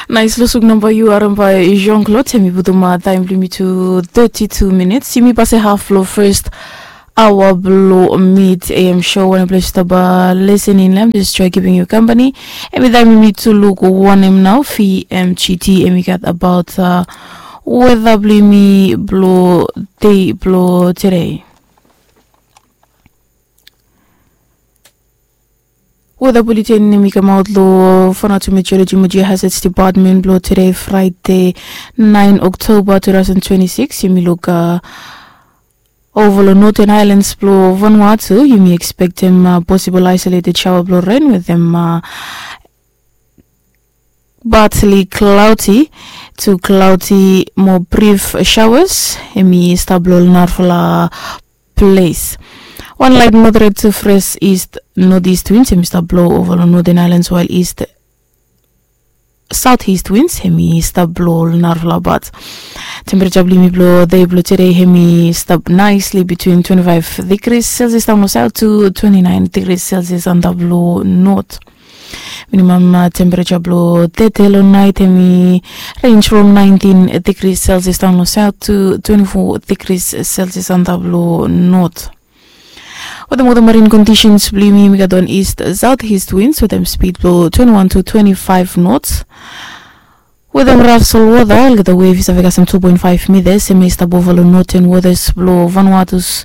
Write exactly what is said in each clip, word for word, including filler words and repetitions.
Nais losuk namba yu harim bai Jean Claude, em i putum taim bilong mi tu thirty-two minutes. Yumi pase haf long first awa bilong mid am show, wanem ples yu stap listening lem, just try keeping you company. Em i taim yumi tu luk wanem nau V M G T em i gat about uh, weather bilong yumi bilong day bilong today. Weather bulletin em i kamaut long Vanuatu Meteorology mo Geohazards Department bilong today Friday nine October two thousand twenty-six. Yumi luk uh, over long Northern Islands bilong Vanuatu, yumi expectem uh, possible isolated shower bilong rain with them uh, partly cloudy to cloudy mo brief showers. Em i stap long narafala place. One light moderate to fresh east northeast winds em i stap blow over long Northern Islands, while east southeast winds em i stap blow long narafala part. Temperature bilong yumi bilong day bilong today em i stap nicely between twenty-five degrees Celsius down long south to twenty-nine degrees Celsius antap long north. Minimum uh, temperature bilong tete long night em i range from nineteen degrees Celsius down long south to twenty-four degrees Celsius antap long north. Wetem wetem marine conditions bilong yumi, yumi gat wan east southeast winds wetem speed bilong twenty-one to twenty-five knots. Wetem raf solwota, olgeta wave i save kasem two point five meters, em i stap ova long northern waters bilong Vanuatus.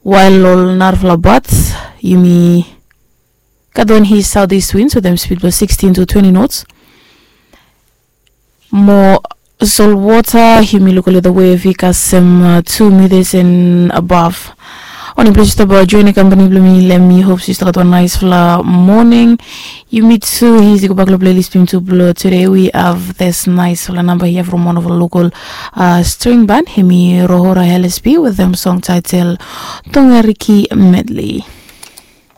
While long narafala bat yumi gat wan east southeast winds wetem speed bilong sixteen to twenty knots. Mo solwota yumi luk olgeta wave i kasem uh, two meters and above. Wanem ples yu stap join company bilong mi, lem mi hope yu stap gat wan naispela morning. Yumi tu easy go bak long playlist bilong tu bilong today. We have this naispela namba here from one of our local uh, string band, hemi Rohora L S P with them song title Tongariki Medley.